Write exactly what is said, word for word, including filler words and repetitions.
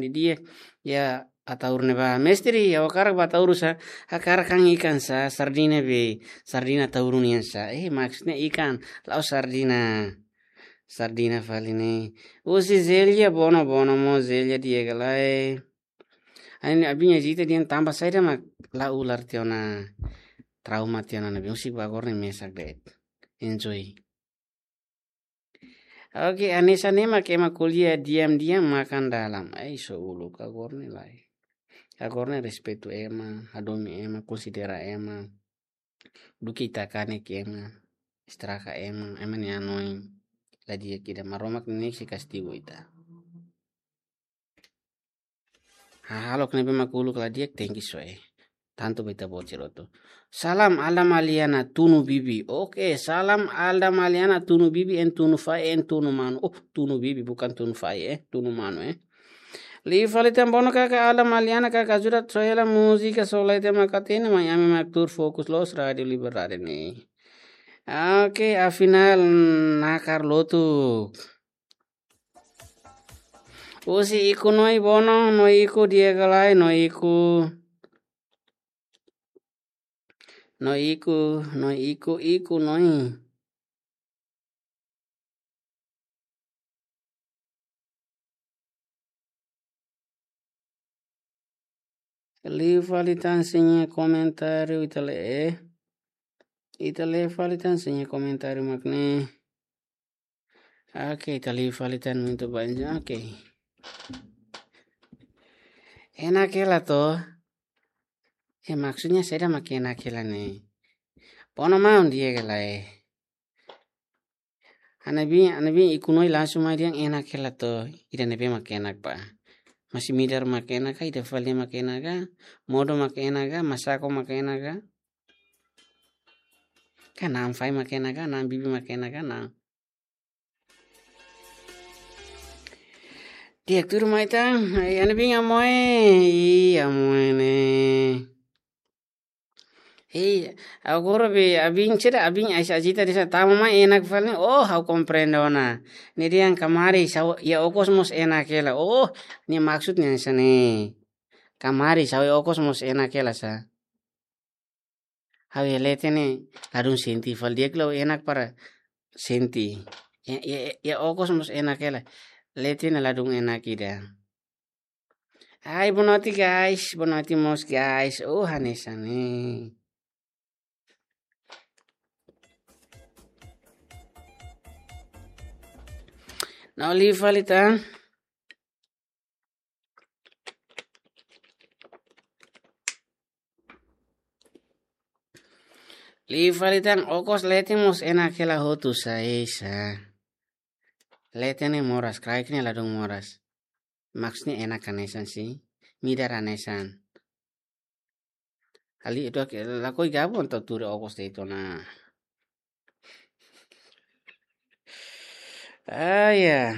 Di'ak, ya, ataur ne'ebá. Mestre, ya, ha'u hakarak ba ataur sa, hakarak han ikan sa, sardina be, sardina ataur nian sa. Eh, maksudnya ikan, la'ós sardina. Sardina fali ne'e. Husi Zelia, bono, bono mós Zelia di'ak ka lae. Ai, ne'e abin Ajita dehan tanba saida mak la ular tiha ona, trauma tiha ona ne'ebé. Husik ba agora ne'e mesak de'it. Enjoy. Oke, hanesan ne'e mak ema ko'alia diam-diam makan dalam. Ai, só uluk, agora ne'e lae. Agora ne'e respeitu ema, hadomi ema, konsidera ema. Duké ita kanek ema, estraga ema, ema nia hanoin la di'ak ida, Maromak ne'e sei kastigu ita. Hahalok ne'ebé mak uluk la di'ak, tenke soe. Tantu ba ita-boot sira hotu. Salam Alda Maliana Tunu Bibi. Oke, salam Alda Maliana Tunu Bibi, en tunu fai, en tunu manu. Oh, Tunu Bibi, bukan tunu fai, eh, tunu manu, eh. Liu fali tan, bono kaka Alda Maliana, kaka ajuda soe hela múzika, só la iha tempu mak hatene, mai ami mak tuur fokus loos Rádiu Liberdade ne'e. Oke, afinál nakar lotu. Husi Iku Noi, bono, Noi Iku di'ak ka lae, Noi Iku. Noi Iku, Noi Iku, Iku Noi. Liu fali tan sira-nia komentáriu, ita lee, eh. Ita lee fali tan sira-nia komentáriu mak ne'e. Oke, ita liu fali tan muito bem. Oke. Enak hela to? Eh, maksudnya saida mak enak hela ne'e? Bono maun di'ak ka lae. Ana bin, ana bin Iku Noi langsung mai dehan enak hela to, ida ne'ebé mak enak ba. Masi-midar mak enak ka, ida fali mak enak ka, modo mak enak ka, masako mak enak ka. Ka na'an fai mak enak ka, na'an bibi mak enak ka, na'an. Di'ak tuur mai tan, ai, ana bin Amoe, ih, Amoe ne'e. Hei, agora be abin sira, abin Aisa Ajita dehan tama mai enak fali ne'e. Oh, ha'u komprende ona. Ne'e dehan kamaris, ha'u, iha okos mós enak hela. Oh, ne'e maksudnya hanesan ne'e. Kamaris, ha'u iha okos mós enak hela sa. Ha'u iha leten ne'e ladún sente fali, di'ak liu enak para sente. Iha, iha, iha okos mós enak hela. Leten ne'e ladún enak ida. Ai, boa noite, guys. Boa noite mós, guys. Oh, hanesan ne'e. No, liu fali tan. Liu fali tan, okos leten mós enak hela hotu sa, esa. Leten ne'e moras, kraik ne'e ladún moras. Maksudnya enak hanesan sih, midar hanesan. Ali itu ke, lakohi gabung tau tuur okos de'it ona. Ah, ya.